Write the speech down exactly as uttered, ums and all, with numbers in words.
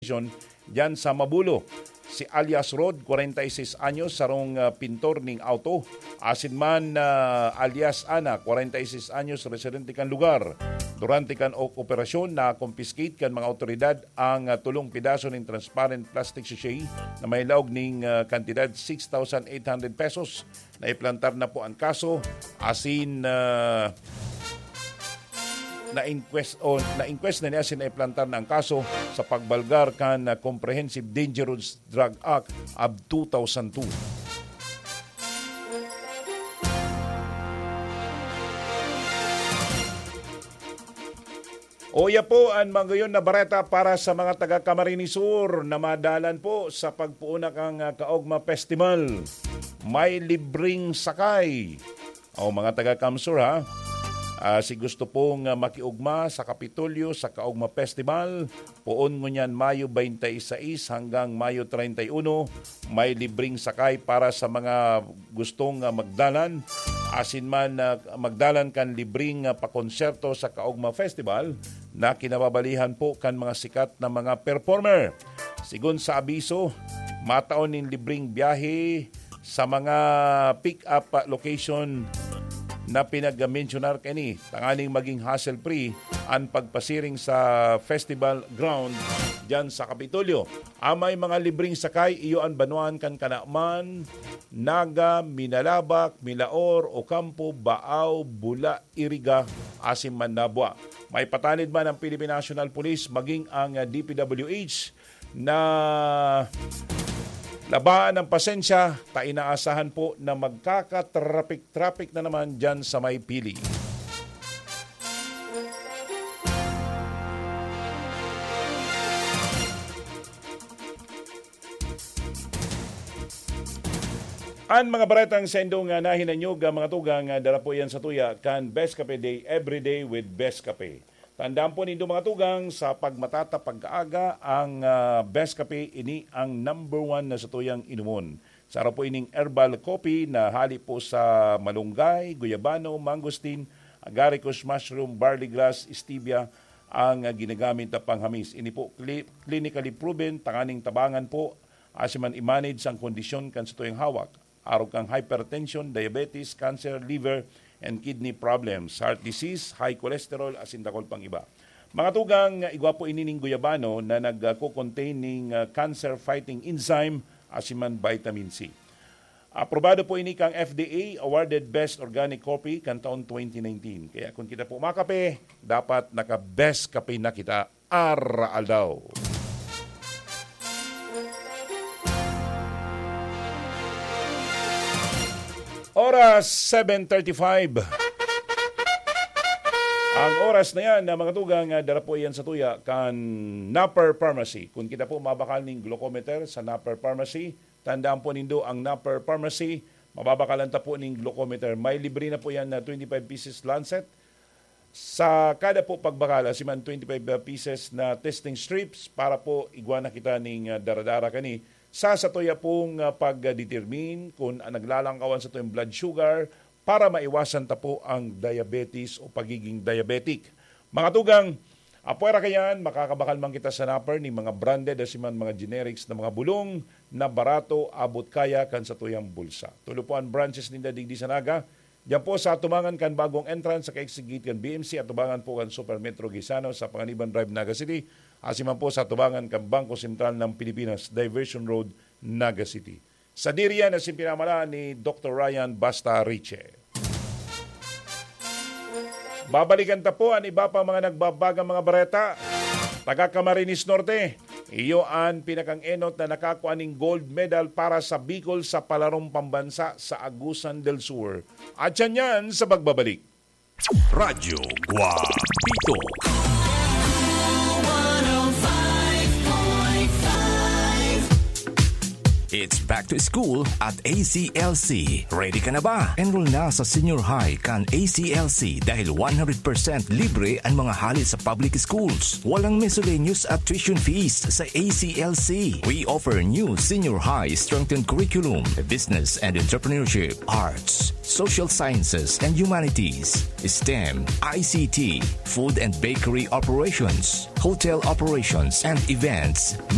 Diyan sa Mabulo. Si alias Rod, kwarenta y seis anyos, sarong, ah, pintor ning auto. Asin man, ah, alias Ana, kwarenta y seis anyos, residente kan lugar. Durante kan o-, operasyon, na-confiscate kan mga awtoridad ang, ah, tulong pidaso ning transparent plastic sachet na may laog ning, ah, kantidad six thousand eight hundred pesos. Naiplantar na po ang kaso, asin, ah, na-inquest, o na-inquest na niya, asin naiplantar na ang kaso sa pagbalgar kan, ah, Comprehensive Dangerous Drug Act of two thousand two. Uya po an magayon na bareta para sa mga taga Camarines Sur na madalan po sa pagpoon na kan, ah, Kaogma Festival. May libreng sakay. O, mga taga Camsur, ha? Ah, si gusto pong, ah, makiugma sa Kapitolyo sa Kaogma Festival, poon ngunyan Mayo twenty-six hanggang Mayo treinta y uno, may libreng sakay para sa mga gustong, ah, magdalan, asin man, ah, magdalan kan libreng, ah, pakonsyerto sa Kaogma Festival na kinababalihan po kan mga sikat na mga performer. Sigon sa abiso, matao nin libreng biyahe sa mga pick-up, ah, location na pinagmensyonar kaini, tanganing maging hassle-free an pagpasiring sa festival ground diyan sa Kapitolyo. Amay mga libreng sakay, iyo an banwaan kan Canaman, Naga, Minalabac, Milaor, Ocampo, Baao, Bula, Iriga, asin Manabua. May patanid man ang Philippine National Police, maging ang, ah, D P W H na labaan ang pasensya, ta inaasahan po na magkakatrapik-trapik na naman dyan sa may Pili. An mga baretang sa indong, ah, nahinanyog, ah, mga tugang, ah, dara po yan sa tuya kan Best Kape Day, every day with Best Kape. Tandaan po nindo, mga tugang, sa pagmatata pagkaaga, ang, ah, Best Kape, ini ang number one na sa tuyang inumon. Saro po ining herbal coffee na hali po sa malunggay, guyabano, mangosteen, agaricus mushroom, barley grass, stevia, ang, ah, ginagamit na panghamis. Ini po cli-, clinically proven, tanganing tabangan po, asin man i-manage ang kondisyon kan satuyang hawak. Arog kan hypertension, diabetes, cancer, liver, and kidney problems, heart disease, high cholesterol, asin dakul pang iba. Mga tugang, igwa po ini ning guyabano na nagko-contain ning, ah, cancer-fighting enzyme, asin man vitamin C. Aprobado po ini kan F D A, awarded Best Organic Coffee kan taon twenty nineteen. Kaya kung kita po makape, dapat naka-best kape na kita. Araaldaw. Oras, seven thirty-five. Ang oras na yan, na mga tugang, ah, dara po yan sa tuya kan Napper Pharmacy. Kung kita po mabakal ning glucometer sa Napper Pharmacy, tandaan po nindo ang Napper Pharmacy, mababakalan ta po ning glucometer. May libre na po yan na twenty-five pieces lancet. Sa kada po pagbakal, asin man twenty-five pieces na testing strips para po igwa na kita ning, ah, daradara kani sa satuya pong, ah, pagdetermine kung, ah, naglalangkawan sa tuyong blood sugar para maiwasan ta po ang diabetes o pagiging diabetic. Mga tugang, apwera kayan, makakabakal man kita sa Napper ning mga branded asin man mga generics na mga bulong na barato, abot kaya kan satuyang bulsa. Tulo po an branches ninda digdi sa Naga, Diyan po sa atubangan kan bagong entrance sa kaigsigit kan B M C, atubangan po kan Super Metro Gaisano sa Panganiban Drive, Naga City, asin man po sa atubangan kan Bangko Sentral ng Pilipinas, Diversion Road, Naga City. Sadiri yan asin pinamalaan ni Doktor Ryan Basta Riche. Babalikan ta po an iba pang mga nagbabagang mga bareta. Taga Camarines Norte, iyo an pinakang-enot na nakakua ning gold medal para sa Bicol sa palarong pambansa sa Agusan del Sur. At yan yan sa pagbabalik. Radyo Guapito. It's back to school at A C L C. Ready ka na ba? Enroll na sa senior high kan A C L C dahil one hundred percent libre ang mga hali sa public schools. Walang miscellaneous at tuition fees sa A C L C. We offer new senior high strengthened curriculum, business and entrepreneurship, arts, social sciences and humanities, STEM, I C T, food and bakery operations, hotel operations and events,